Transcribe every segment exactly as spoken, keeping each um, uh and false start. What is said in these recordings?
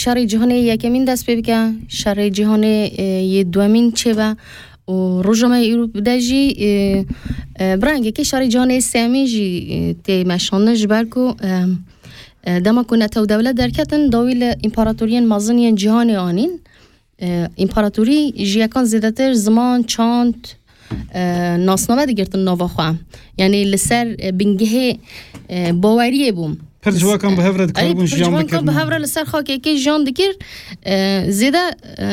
Şerê Cîhanê yekemîn dest pê bike, şerê cîhanê, e, yê duemîn çêbe û roja me îro bide jî, e, e, bi rengekê şerê cîhanê sêyemîn jî, e, tê meşandin, ji ber ku, e, e, dema ku netew dewlet derketin, dawî li împaratoriyên mezin yên cîhanê anîn. E, împaratorî ji yekan zêdetir ziman, çand, e, nasname digirtin nava xwe. Yanî li ser, e, bingehê, e, baweriyê bûn. Pir ciwakan bi hev re dikaribûn Erê, pir jiyan ciwankan bi bikirin. Hev re li ser xakekê jiyan dikir, e, zêde, e,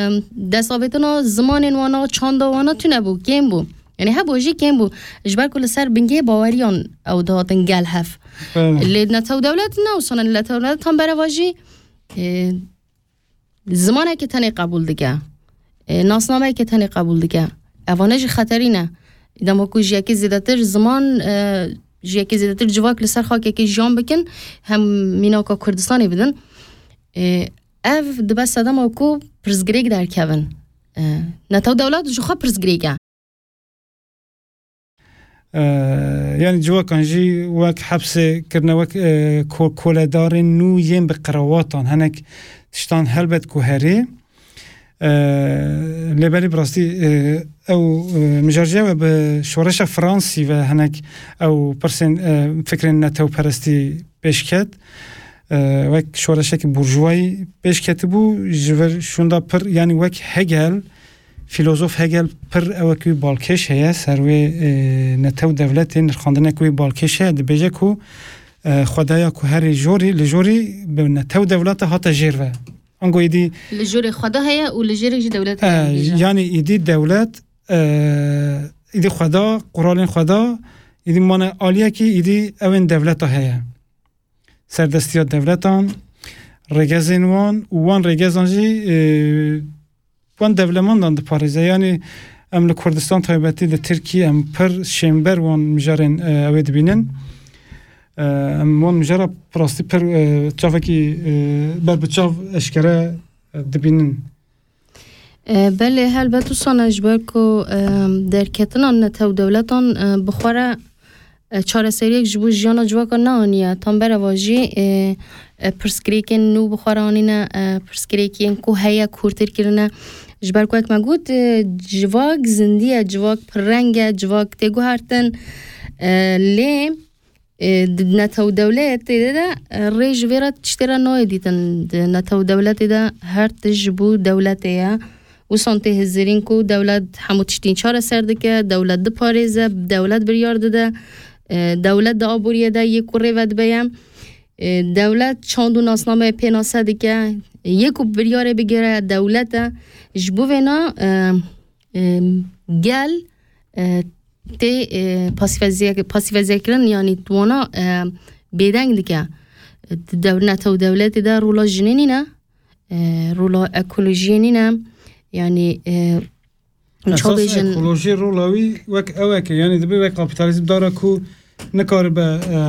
destavêtina zimanên wana, çanda wana tune bû, kêm bû. Yanî hebû jî kêm bû. Ji ber ku li ser bingehê baweriyan ew dihatin gel hev. Evet. Lê netew dewlet ne wisa ne, netew dewlet tam bereva jî, e, zimanekî tenê qebûl dike. E, nasnameyekî tenê qebûl dike. Evane jî xeterî ne. Dema ku ji yekê zêdetir ziman, e, ji yekê zêdetir civak li ser xakekê jiyan bikin, hem mînaka Kurdistanê bidin. E, ev dibe sedema ku pirsgirêk derkevin. E, netew dewlet ji xwe pirsgirêk e. E, yanî ciwakan jî wek hepsê kirine, wek, e, ko-, koledarên nû yên bi qirewatan, hinek tiştan helbet ku herê. E, lê belê bi rastî, e, ew, e, mijar jî ew e, bi şoreşa Fransî ve hinek ew pirsên, e, fikrên netewperestî pêş ket. E, wek şoreşekî burjuvayî pêş ketibû, ji vir şûnda pir, yanî wek Hegel, Filozof Hegel pir ewek wî balkêş heye ser wê, e, netew dewletê, nirxandinek wî balkêş heye, dibêje ku, e, xwedaya ku herê jorî, li jorî bi netew dewleta hate jêr ve. Ango êdî Li jorê xweda heye û li jêrê jî dewlet heye, e, dibêje. Yanî êdî dewlet, e, êdî xweda, quralên xweda, êdî mane aliyekî, êdî ewên dewleta heye. Serdestiya dewletan, rêgezên wan û wan rêgezan jî, e, wan dewlemandan diparêze. Yanî em li Kurdistan taybetî li Tirkî em pir şênber wan mijarên, e, ew ê dibînin. E, em wan mijara bi rastî pir, e, çavekî, e, ber bi çav eşkere, e, dibînin. E, belê, helbet wisa ne, ji ber ku, e, derketina netew dewletan, e, bi xwe re, e, çareseriyek ji bo jiyana civaka neaniye. Tam bereva jî, e, e, pirsgirêkên nû bi xwe re anîne, e, pirsgirêkên ku heye kûrtir kirine. Ji ber ku wek me got, e, civak zindî ye, civak pirreng e, civak tê guhertin. E, lê E, di netew dewletê de, e, rê ji vê re tiştê re nayê dîtin. Di netew dewletê de her tişt ji bo dewletê ye. Wisan tê hizirîn ku dewlet hemû tiştîn çareser dike, dewlet diparêze, dewlet biryar dide, e, dewlet di aboriyê de yê ku rê vedibe ye. E, dewlet çand û nasnameyê pênase dike, yê ku biryarê bigire dewlet e. Ji bo vêna, e, e, gel, e, tê, e, pasîfezîye-, pasîfezîyekirin, yanî wana, e, bêdeng dike. Di dew-, netew dewletê de rola jinê nîne, e, rola ekolojiyê nîne. Yanî, e, çawa Esas bêjin? Ekolojî rola wî wek ewek e. Yanî dibê wek kapîtalîzm dara ku nikaribe, e,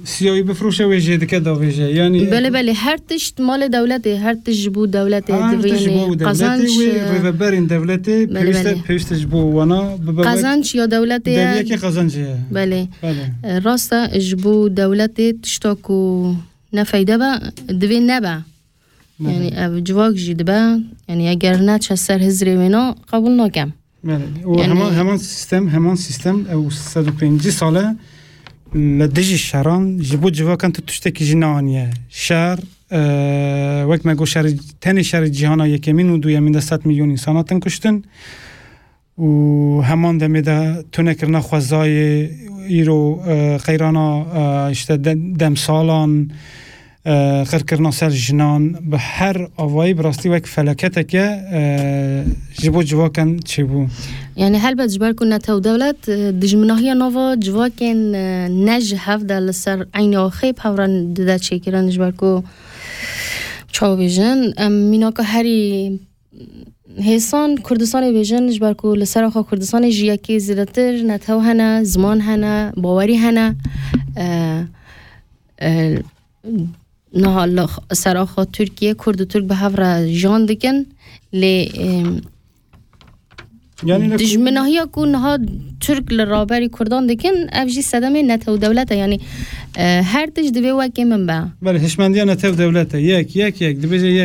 siyawî bifroşe, wê jê dike davêje. Yanî Belê, belê. Her tişt malê dewletê, her tişt ji bo dewletê Her divê, tişt ji yanî bo dewletê, qazanç, wê e, rêveberên dewletê belê, pêwîste, belê. Pêwîste ji bo wana bibe wek Qazanç ya dewletê ye. Deriyekê qazanc heye. Belê. Belê. E, rast e, ji bo dewletê tişta ku ne feyde be, divê nebe. Belê. Yanî ev civak jî dibe, yanî eger neçe ser hizrê wêna, qebûl nakem. Belê. Û Yanî heman, heman sîstem, heman sîstem, ew sed û pêncî sal e li dijî şeran ji bo civakan tu tiştekî jî neaniye. Şer, e, wek me got, şerê, tenê şerê cîhana yekemîn û duyemîn de sed milyon însan hatin kuştin. Û heman demê de tunekirina xwezayê, îro, e, qeyrana, e, işte de-, demsalan, e, qirkirina ser jinan, bi her avayî bi rastî wek felaketeke, e, ji bo civakan çêbû. Yanî helbet ji ber ku netew dewlet, e, dijminahiya nava civakên, e, ne ji hev de li ser eynî axê bi hev re dide çêkirin, ji ber ku çawa bêjin, em mînaka herî hêsan Kurdistanê bêjin, ji ber ku li ser axa Kurdistanê ji yekê zêdetir netew hene, ziman hene, bawerî hene. E, e, niha li x-, ser axa Tirkiye Kurd û Tirk bi hev re jiyan dikin, lê, e, Yanî ne dijminahiya ku niha Tirk li raberî Kurdan dikin, ev jî sedemê netew dewlet e. Yanî, e, her tişt divê wekê min be. Belê, hişmendiya netew dewlet e. Yek, yek, yek. Dibêje yek.